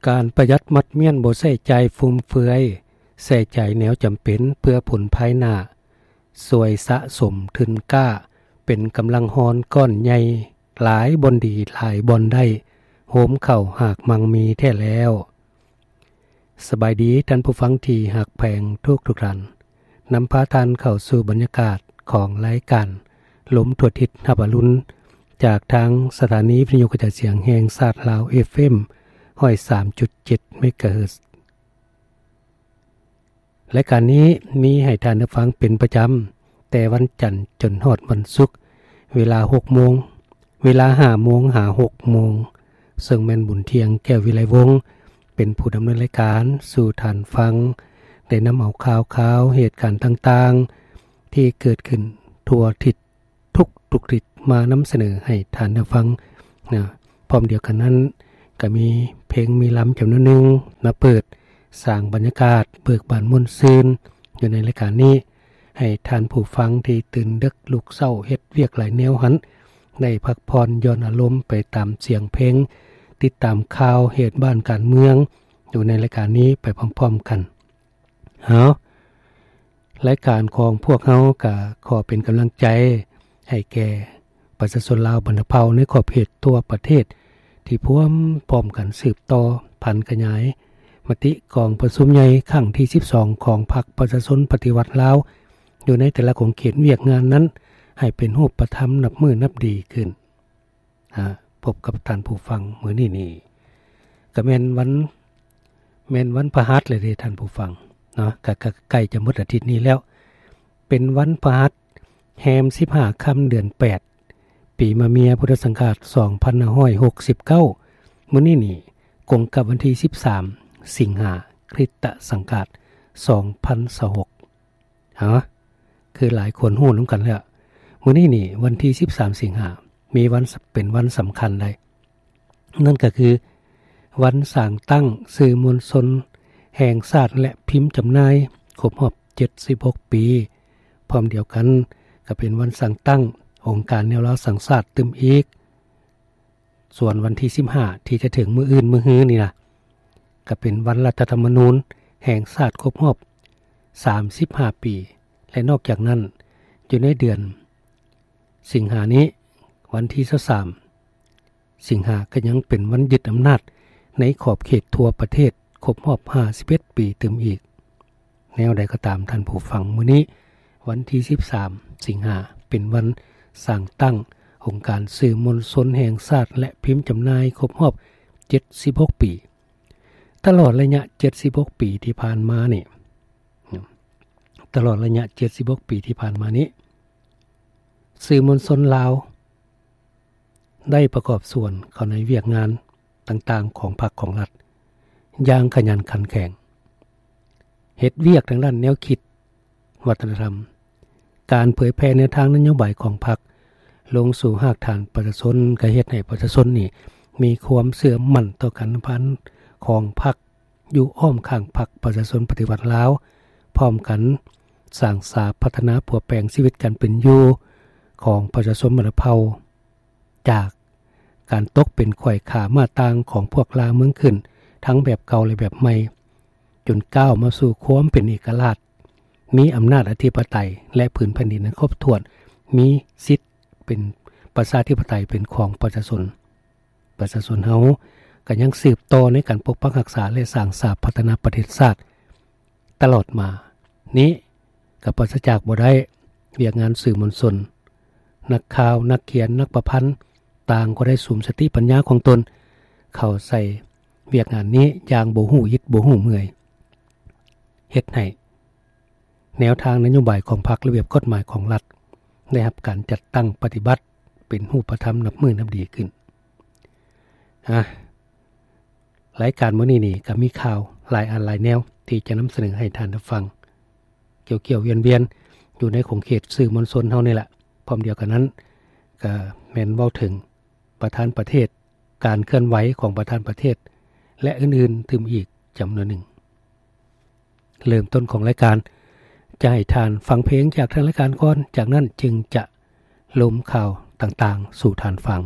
ການປະຢັດໝັດມ້ຽນ ບໍ່ໃຊ້ຈ່າຍຟຸມເຟືອຍ, ໃຊ້ຈ່າຍແນວຈຳເປັນເພື່ອຜົນພາຍໜ້າ, ຊ່ວຍສະສົມທຶນກ້າ ເປັນກຳລັງຮອນກ້ອນໃຫຍ່, ຫຼາຍບ່ອນດີ ຫຼາຍບ່ອນໄດ້, ໂຮມເຂົ້າຫາກມັ່ງມີແທ້ແລ້ວ. ສະບາຍດີທ່ານຜູ້ຟັງທີ່ຮັກແພງທຸກໆທ່ານ. ນຳພາທ່ານເຂົ້າສູ່ບັນຍາກາດຂອງລາຍການລົມທົ່ວທິດຮັບອະລຸນ ຈາກທາງສະຖານີວິທະຍຸກະຈາຍສຽງແຫ່ງຊາດລາວ ເອຟເອັມ ຮ້ອຍສາມຈຸດເຈັດ ເມກາເຮີດ. ລາຍການນີ້ມີໃຫ້ທ່ານໄດ້ຟັງເປັນປະຈຳ ແຕ່ວັນຈັນຈົນຮອດວັນສຸກ ເວລາຫົກໂມງ ເວລາຫ້າໂມງຫາຫົກໂມງ, ເຊິ່ງແມ່ນບຸນທ່ຽງ ແກ້ວວິໄລວົງ ເປັນຜູ້ດຳເນີນລາຍການສູ່ທ່ານຟັງ ໄດ້ນຳເອົາຂ່າວຄາວເຫດການຕ່າງໆ ທີ່ເກີດຂຶ້ນທົ່ວທິດ ທຸກໆທິດ ມານຳສະເໜີໃຫ້ທ່ານໄດ້ຟັງນະ. ພ້ອມດຽວກັນນັ້ນ ກໍມີເພງມີລຳຈຳນວນໜຶ່ງມາເປີດສ້າງບັນຍາກາດເບີກບານມ່ວນຊື່ນຢູ່ໃນລາຍການນີ້ ໃຫ້ທ່ານຜູ້ຟັງທີ່ຕື່ນເດິກລຸກເຊົ້າເຮັດວຽກຫຼາຍແນວຫັ້ນ ໄດ້ພັກຜ່ອນຢ່ອນອາລົມໄປຕາມສຽງເພງ, ຕິດຕາມຂ່າວເຫດບ້ານການເມືອງຢູ່ໃນລາຍການນີ້ໄປພ້ອມໆກັນ. ເອົາ, ລາຍການຂອງພວກເຮົາກໍຂໍເປັນກຳລັງໃຈໃຫ້ແກ່ປະຊາຊົນລາວບັນດາເຜົ່າໃນຂອບເຂດທົ່ວປະເທດ ທີ່ພວມພ້ອມກັນສືບຕໍ່ຜັນຂະຫຍາຍມະຕິກອງປະຊຸມໃຫຍ່ຄັ້ງທີສິບສອງຂອງພັກປະຊາຊົນປະຕິວັດລາວ ຢູ່ໃນແຕ່ລະຂົງເຂດວຽກງານນັ້ນ ໃຫ້ເປັນຮູບປະທຳນັບມື້ນັບດີຂຶ້ນ. ອາ ພົບກັບທ່ານຜູ້ຟັງມື້ນີ້ນີ້ ກະແມ່ນວັນ ແມ່ນວັນພະຫັດແລ້ວເດ້ທ່ານຜູ້ຟັງເນາະ, ກະ ກະໃກ້ຈະໝົດອາທິດນີ້ແລ້ວ. ເປັນວັນພະຫັດແຮມສິບຫ້າຄ່ຳເດືອນແປດ ປີມະເມຍ ພຸດທະສັງກາດສອງພັນຫ້າຮ້ອຍຫົກສິບເກົ້າ. ມື້ນີ້ນີ້ກົງກັບວັນທີສິບສາມ ສິງຫາ ຄຣິດຕະສັງກາດສອງພັນຊາວຫົກ. ຮະ ຄືຫຼາຍຄົນຮູ້ນຳກັນແລ້ວ, ມື້ນີ້ນີ້ວັນທີສິບສາມສິງຫາ ມີວັນ ເປັນວັນສຳຄັນໃດ໋, ນັ້ນກໍຄືວັນສ້າງຕັ້ງສື່ມວນຊົນແຫ່ງຊາດ ແລະ ພິມຈຳໜ່າຍຄົບຮອບເຈັດສິບຫົກປີ. ພ້ອມດຽວກັນກໍເປັນວັນສ້າງຕັ້ງອົງການແນວລາວສ້າງຊາດຕື່ມອີກ. ສ່ວນວັນທີສິບຫ້າ ທີ່ຈະເຖິງມື້ອື່ນມື້ຮືນີ້ນະ ກໍເປັນວັນລັດຖະທຳມະນູນແຫ່ງຊາດຄົບຮອບສາມສິບຫ້າປີ ແລະ ນອກຈາກນັ້ນ ຢູ່ໃນເດືອນສິງຫານີ້ ວັນທີຊາວສາມສິງຫາ ກໍຍັງເປັນວັນຍຶດອຳນາດໃນຂອບເຂດທົ່ວປະເທດຄົບຮອບຫ້າສິບເອັດປີຕື່ມອີກ. ແນວໃດກໍຕາມທ່ານຜູ້ຟັງ, ມື້ນີ້ວັນທີສິບສາມສິງຫາ ເປັນວັນສ້າງຕັ້ງອົງການສື່ມວນຊົນແຫ່ງຊາດ ແລະ ພິມຈຳໜ່າຍຄົບຮອບເຈັດສິບຫົກປີ. ຕະຫຼອດໄລຍະເຈັດສິບຫົກປີທີ່ຜ່ານມານີ້ ຕະຫຼອດໄລຍະເຈັດສິບຫົກປີທີ່ຜ່ານມານີ້ ສື່ມວນຊົນລາວ ໄດ້ປະກອບສ່ວນເຂົ້າໃນວຽກງານຕ່າງໆຂອງພັກຂອງລັດຢ່າງຂະຫຍັນຂັນແຂງ, ເຮັດວຽກທາງດ້ານແນວຄິດ, ວັດທະນະທຳ, ການເຜີຍແຜ່ແນວທາງນະໂຍບາຍຂອງພັກລົງສູ່ຮາກຖານປະຊາຊົນ, ກໍເຮັດໃຫ້ປະຊາຊົນນີ້ມີຄວາມເຊື່ອໝັ້ນຕໍ່ການນຳພາຂອງພັກ ຢູ່ອ້ອມຂ້າງພັກປະຊາຊົນປະຕິວັດລາວ, ພ້ອມກັນສ້າງສາພັດທະນາປົວແປງຊີວິດການເປັນຢູ່ຂອງປະຊາຊົນບັນດາເຜົ່າ ຈາກການຕົກເປັນຂ້ອຍຂ້າມ້າຕ່າງຂອງພວກລ່າເມືອງຂຶ້ນ ທັງແບບເກົ່າ ແລະ ແບບໃໝ່, ຈົນກ້າວມາສູ່ຄວາມເປັນເອກະລາດ, ມີອຳນາດອະທິປະໄຕ ແລະ ພື້ນແຜ່ນດິນອັນຄົບຖ້ວນ, ມີສິດເປັນປະຊາທິປະໄຕເປັນຂອງປະຊາຊົນ. ປະຊາຊົນເຮົາກໍຍັງສືບຕໍ່ໃນການປົກປັກຮັກສາ ແລະ ສ້າງສາພັດທະນາປະເທດຊາດຕະຫຼອດມານີ້ ກໍປາສະຈາກບໍ່ໄດ້ວຽກງານສື່ມວນຊົນ, ນັກຂ່າວ, ນັກຂຽນ, ນັກປະພັນ ຕ່າງກໍໄດ້ສຸມສະຕິປັນຍາຂອງຕົນເຂົ້າໃສ່ວຽກງານນີ້ຢ່າງບໍ່ຮູ້ອິດບໍ່ຮູ້ເມື່ອຍ, ເຮັດໃຫ້ ແນວທາງນະໂຍບາຍຂອງພັກ, ລະບຽບກົດໝາຍຂອງລັດ ໄດ້ຮັບການຈັດຕັ້ງປະຕິບັດເປັນຮູບປະທຳນັບມື້ນັບດີຂຶ້ນ. ອາ, ລາຍການມື້ນີ້ນີ້ກໍມີຂ່າວຫຼາຍອັນຫຼາຍແນວທີ່ຈະນຳສະເໜີໃຫ້ທ່ານໄດ້ຟັງ ກ່ຽວໆວຽນໆຢູ່ໃນຂົງເຂດສື່ມວນຊົນເຮົານີ້ແຫຼະ. ພ້ອມດຽວກັນນັ້ນ ກໍແມ່ນເວົ້າເຖິງປະທານປະເທດ, ການເຄື່ອນໄຫວຂອງປະທານປະເທດ ແລະ ອື່ນໆຕື່ມອີກຈຳນວນໜຶ່ງ. ເລີ່ມຕົ້ນຂອງລາຍການ ຈະໃຫ້ທ່ານຟັງເພງຈາກທາງລາຍການກ່ອນ, ຈາກນັ້ນຈຶ່ງຈະລົມຂ່າວຕ່າງໆສູ່ທ່ານຟັງ.